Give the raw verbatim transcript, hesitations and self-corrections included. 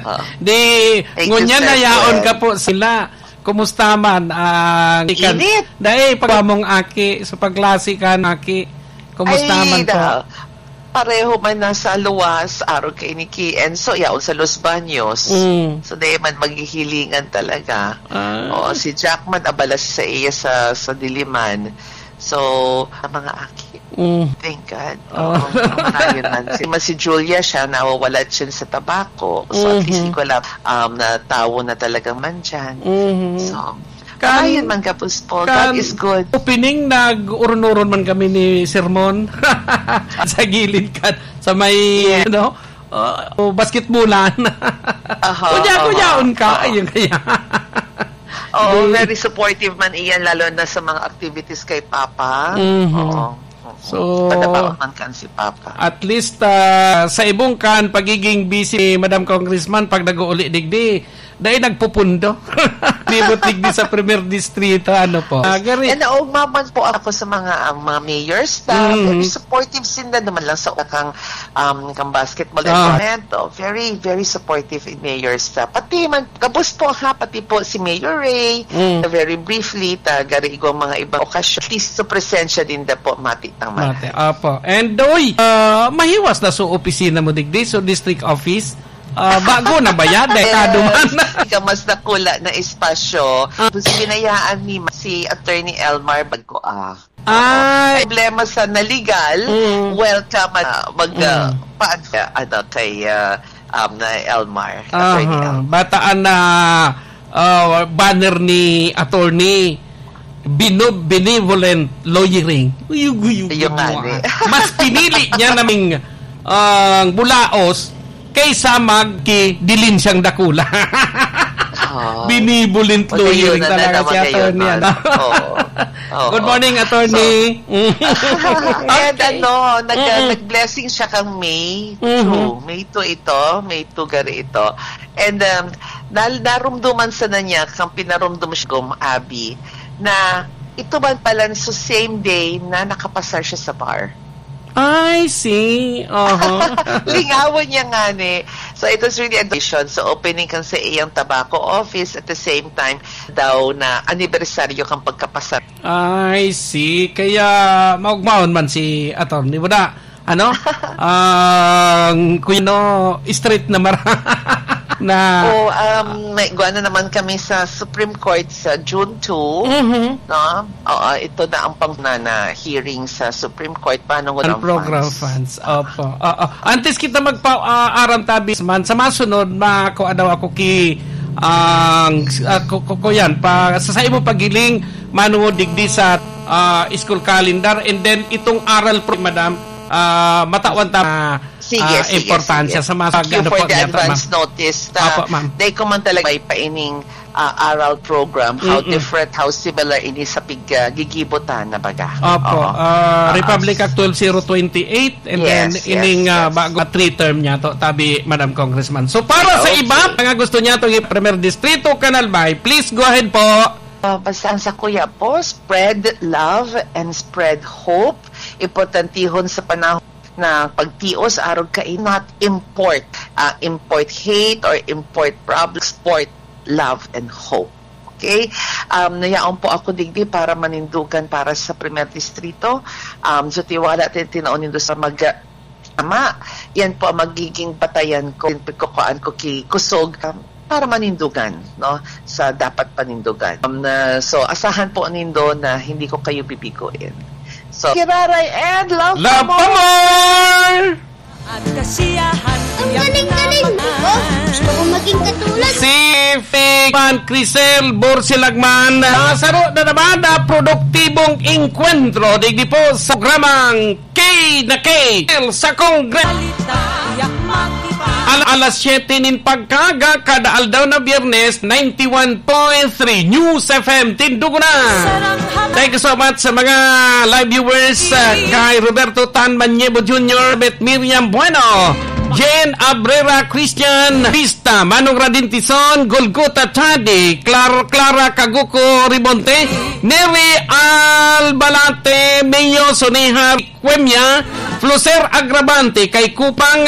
Ah. Di, Thank you, ngunyan sir, na yaon sir. ka po sila. Kumusta man ang ikan? Init. Dai, pag mong aki, sa paglasi kan aki. Kumusta Ay, man po? da-, pareho man nasa luwas, arog kay ni Kian. So, yaon sa Los Baños. Mm. So, dai man maghihilingan talaga. Ah. Oo, si Jack man, abala sa iya sa, sa Diliman. So, ang mga aki, Mm. thank God. Oh. Oo, marayon man. Si, si Julia, siya, nawawala siya sa tabako. So, at least, Mhm. ikaw lang, um, na tawo na talagang man dyan. Mhm. So, Kan, marayon man, Kapuspo. God kan is good. opening, nag-uron-uron man kami ni Sermon. Sa gilid ka, sa may, Yes. ano, uh, basketballan. Aha, Kuya, aha, kuyaon ka. aha. Ayun kaya. Oo, Di- very supportive man iyan, lalo na sa mga activities kay Papa. Mhm. Oo. Oo. So, Padabaon man kan si Papa. at least, ah, sa ibong kan, pagiging busy ni Madam Congressman pag nag-uuli digdi, dai nagpupundo. Libot digdi sa Primer Distrito, ano po? Ah, gari. And naugma man po ako sa mga, ah, mga mayors na Mhm. very supportive sinda naman lang sa kang, um, kang basketball Ah. environment. Oh, very, very supportive in mayors na. Pati man, gabos po ha, pati po si Mayor Ray, Mm. na very briefly, ta gari igwang mga ibang okasyon, at least sa presensya din da po, mati tang Mati, mati. Opo. And, uy, ah, mahiwas na sa opisina mo digdi, so district office, ah, bago na ba yan? Detado man. Yes. Ika mas dakula na espasyo. Ah. Kung binayaan ni ma-, si Attorney Elmar Bagco, ah. Ay. Problema sa na legal, Mm. welcome, ah, mag, ah, Mm. paan ka, ano, kay, ah, um, na Elmar, Attorney Aha. Elmar. Bataan na, ah, banner ni Attorney Bino-, Benevolent Lawyering. Uyug, uyug, Ayun nga, uyug, ni. ah. Mas pinili niya naming, ah, bulaos kaysa magki dilinsyang dakula. Ah. Binibulinto Magayon yun na talaga naman si ngayon, Attorney, man. ano? Oo. Oo. Good morning, Attorney. So, and Okay. ano, nag-, Mm-mm. nag-blessing siya kang May Mm-hmm. two. May two ito, May two gari ito. And, um, nal-, narumduman sana niya, kang pinarumdum siya, Gom Abby, na ito man pala sa same day na nakapasar siya sa bar. I see. Aha. Lingawan niya nga ni. So, it was really a occasion. So, opening kan sa iyang tobacco office at the same time daw na anibersaryo kan pagkapasar. I see. Kaya, maugmaon man si attorney mo na. Ano? Ang, kuya, no, straight na mara-, na Oh, um, may, igwa na naman kami sa Supreme Court sa June two, Mhm. no? Oo, ito na ang pang-, na, na hearing sa Supreme Court, paano ng Ang program funds. funds. Opo. Oo. Antes kita magpa-, ah, aram tabis man, sa masunod, ma-, ko, ano, ako ki-, ang, ah, ko, ko, ko yan, pa, sa, sa imo paghiling, manungod digdi sa, ah, school calendar, and then itong aral pro, madam, ah, matawan ta, Sige, ah, sige, importansya sige. sa mga Thank you ano for po the niya, advance ma'am. notice. Ta, Opo, ma'am. Dai ko man talaga may paining, ah, aral program. How Mm-mm. different, how similar ini sa pig-, ah, gigibutan na baga. Opo, Oo. ah, Ah, Republic Act twelve zero twenty-eight, and Yes, then yes, ining, ah, yes. bago three term niya to, tabi, Madam Congressman. So, para sa Okay. iba, mga gusto niya itong Primer Distrito, Canal Bay, please go ahead po. Ah, basta ang sa kuya po, spread love and spread hope. Importantihon sa panahon na pagtios, arog ka, not import, ah, import hate or import problems, export love and hope. Okay? Um, nayaon po ako digdi para manindugan para sa Primer Distrito. Um, so, tiwala, tin-, tinaon nindo sa mag-, Ama, yan po ang magiging batayan ko, pagkukuhaan ko ki kusog, um, para manindugan, no, sa dapat panindugan. Um, na, so, asahan po nindo na hindi ko kayo bibiguin. So, Kiraray and Love Love pa pa more! At kasiyahan Ang tiyak galing-galing na mo! Gusto ko maging katulad. Si Fake Fan Crisel Borsilagman, nasaro na naman na produktibong engkwentro digdi po sa programang K na K sa Kongre-, Al-, alas siyete nin pagkaaga, kada aldaw na Biyernes, ninety-one point three News F M Tindugunan. Thank you so much sa mga live viewers, uh, kay Roberto Tan Maniebo Junior, Beth Miriam Bueno, Jen Abrera, Christian Vista, Manong Radin Tison, Golgota Chadi, Clar-, Clara Kaguko Ribonte, Neri Albalate, Mio Sonihar, Cuemia, Floser Agravante, kay Kupang,